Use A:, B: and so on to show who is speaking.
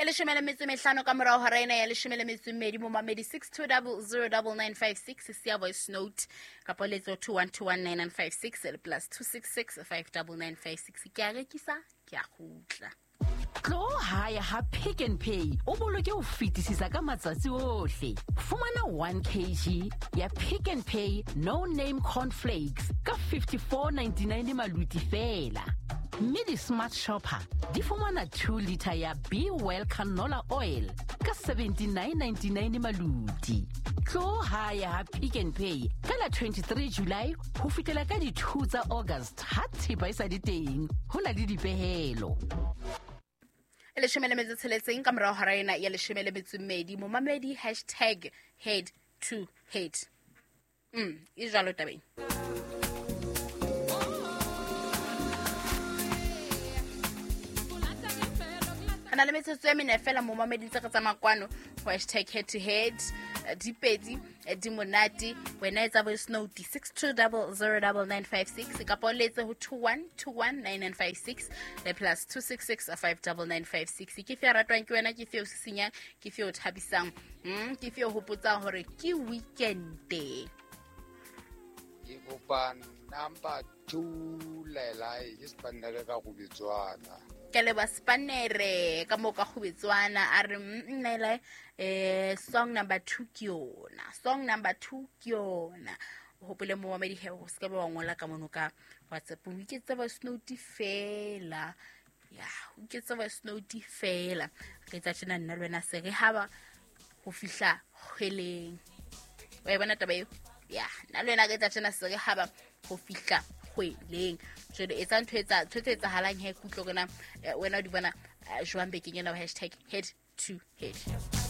A: Leshome le metso e mehlano ka morao hora ena ya leshome le metso e mmedi. Momamedi, 62009956, siya voice note kapa letso 21219956 le +266 59956. Ke a rekisa, ke a kgutla.
B: Tlo hae ha Pick n Pay, o boloke ho fetisisa ka matsatsi ohle. Fumana 1 kg ya Pick n Pay No Name Cornflakes ka 54.99 maluti feela, mme di-Smart Shopper di fumana 2 liter ya Be Well canola oil ka 79.99 maluti. Tlo hae ha Pick n Pay ka la 23 July ho fihlela ka di-2 tsa August, ha thepa e sa le teng, ho na le dipehelo.
A: E leshome le metso tsheletseng ka morao hora ena ya leshome le metso e mmedi. Momamedi, #HeadToHead. E jwalo tabeng. Re na le metsotso e mene fela, momamedi, ntse re tsamaya kwano ho #HeadToHead. Dipedi di monate. Wena etsa voice note, 62009956, kapa o letse ho 21219956 le +266 59956. Ke fe ratwang ke wena? Ke fe o sisinyang? Ke fe o thabisang? Ke fe o hopotsang hore ke weekende?
C: Ke kopa number 2, Laelai, ke sepanere ka Gobetswana.
A: Ke leba spanere ka moo ka Kgobetswana. A re nnaela song number 2 ke yona, song number 2 ke yona. O hopole, momamedi, he o se ka ba wa ngola ka mono ka WhatsApp, o iketse voice note fela. Ya, o iketse voice note fela. Re etsa tjena, nna le wena se re haba ho fihla kgweleng. Wa e bona taba eo? Ya, nna le wena re etsa tjena, se re haba ho fihla kgweleng. Jwale etsa ntho tse etsahalang he, kutlwe rona. Wena o di bona jwang bekeng ena? #HeadToHead.